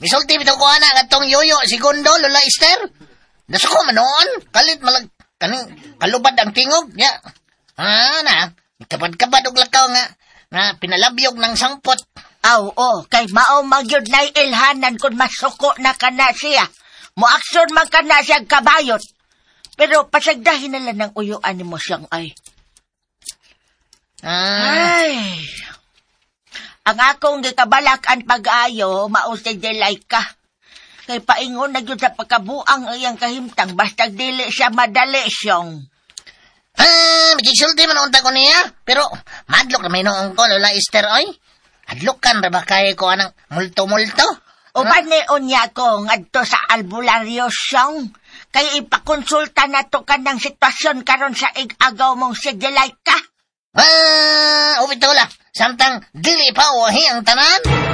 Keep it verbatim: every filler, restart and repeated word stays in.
Misulti bitaw ko ana ngadtong yoyo segundo Lola Esther. Nasuko man noon, kalit malag kaning kalubad ang tingog nya. Ah na, kabad-kabad og lakaw nga nga pinalabyog ng sangpot. Aw, oh, kay mao magyud nay ilhanan kung masuko na kana siya. Moaksyon man kana siya kabayot. Pero pasagdahin na lang ng uyuan nimo siyang ay. Ah, Ay. Ang akong gikabalak ang pag-ayo, mao si Delaika. Kay paingon na gyud sa pagkabuang ang iyang kahimtang, basta dili siya madali siyang. Ah, makigsulti man unta ko niya. Pero madlok na may noong ko Lola Esther oy. Hadlokan ra ba kay ko anang multo-multo? Uban ni unya ko ngadto sa albularyo siyang. Kay ipakonsulta na to kanang sitwasyon karon sa ig-agaw mong si Delaika. Ah, ubit la. Samtang dili pa wahi ang tanan.